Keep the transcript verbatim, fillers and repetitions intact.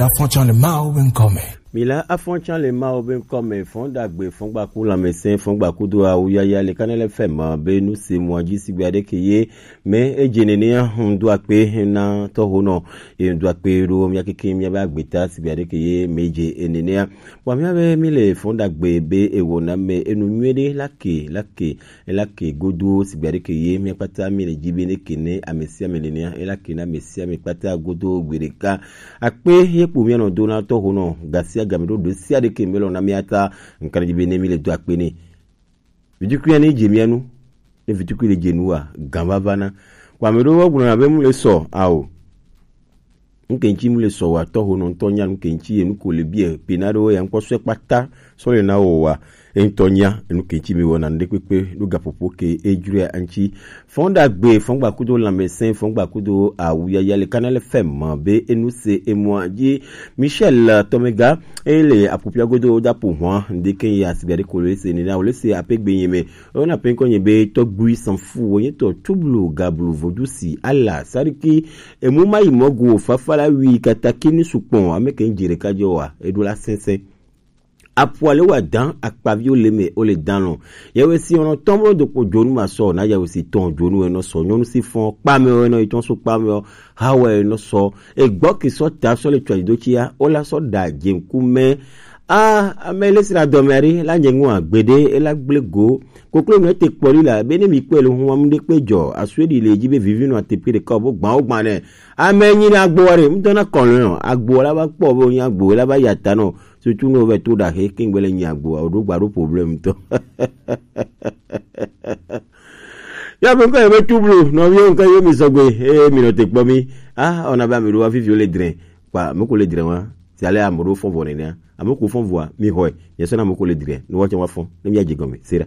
Afɔntsɔn le Mawu be ŋkɔ me. Mi la afɔntsɔn le Mawu be ŋkɔ me, fɔn dagbe, fɔn gbaku lãmesẽ, fɔn gbakudo awu yaya le Kanɛlɛ fɛ ma be nu se mɔ dzi sigbe aɖe ke ye me edze nenea ŋu do akpe na tɔho nɔ, ye ŋu do akpe ɖo mía keke mía be agbeta sigbe aɖe ke ye me dze nenea. Bua mía be mi le fɔn dagbe be ewɔ na me enu nyuie ɖe la ke, la ke, la ke godo sigbe aɖe ke ye mía kpata mi le dzi be ne ke ne ame sia ame nenea, ela ke na ame sia ame kpata godo gbe ɖeka. Akpe ye kpo mía nɔ do na tɔho nɔ, ga sia ga me ɖo ɖe sia ɖe ke me lɔ na mía ta, ŋka ɖe dzi be ne mi le do akpe ne. Vitukui ya ne dze mía nu, ne vitukui le dze nu wa, gan vava na. Kpa me ɖo wa gblɔ na be mu le sɔ, ao. Nuke ŋuti mu le sɔ wa tɔho nɔ ŋutɔ nya nuke ŋuti ye nuko le biɛ pe na ɖo ya ŋkpɔ sɔe kpata sɔ le na wo wa. Eŋutɔ nya nuke ŋuti mi wɔna ŋɖe kpekpe ɖo gaƒoƒo ke edzroa ŋuti. Fɔn dagbe, fɔn gbakudo lãmesẽ, fɔn gbakudo awu yaya le Kanɛlɛ fɛ ma be enu se emɔa dzi. Michel Tomega, ele apopia godo dapo hwa, ŋɖe ke ya sigbe aɖe ko le se nina, wo le se ape gbe nye me. Wo na pe ŋkɔ nye be Tɔgbui Sanfu, wo nye tɔ Tublu Gablu Vodusi, Ala, Sariki, emu ma yi mɔ go, fafa la wi, kataki ni sukpɔn, ame ke ŋdzi ɖeka dzi wa, eɖo la sɛnsɛn. Apu ale wa dan, akpaviwo le me, wo le dan lɔ. Yawe si ɔnɔ tɔmɔ do kpo dzonu ma sɔ, na yawe si tɔn dzonu enɔ sɔ, nyɔnu si fɔn kpame o enɔ itɔn so kpame o, ha wɛ enɔ sɔ, egbɔ ke sɔ ta sɔ le tsɔ do tsia, o la sɔ da dzenku mɛ. A, ame le sra dɔme aɖe, la nye ŋu agbede, e la gble go. Koklo nɔ te kpɔ li la, be ne mi kpɔe le hu amu ɖe kpe dzɔ, asue ɖi le dzi be vivi nɔ ateƒe ɖeka o, bo gbã wo gbã nɛ. Ame nyi na agbo aɖe, ŋutɔ na kɔlɔn nɔ, agbo la va kpɔ be wonye agbo, la va ya ta nɔ. Surtout ne wovɛ to ɖaxe, ke ŋgbe le nyi agboa, woɖo gba ɖo problème tɔ. Ya be ŋkɔ ye be Tublu, nɔviwo ŋkɔ ye mi sɔgbe, eye mi nɔ te kpɔ mi. Ah, ona be ame ɖo wa fifi wo le dre. Kpa, ame ko le dre wa, si ale ame ɖo fɔn vɔ nenea. Ame ko fɔn vɔa, mi xɔe, nye sɔ na ame ko le dre, ne wa tsɛ wa fɔn, ne mi adze gɔme, se ɖa.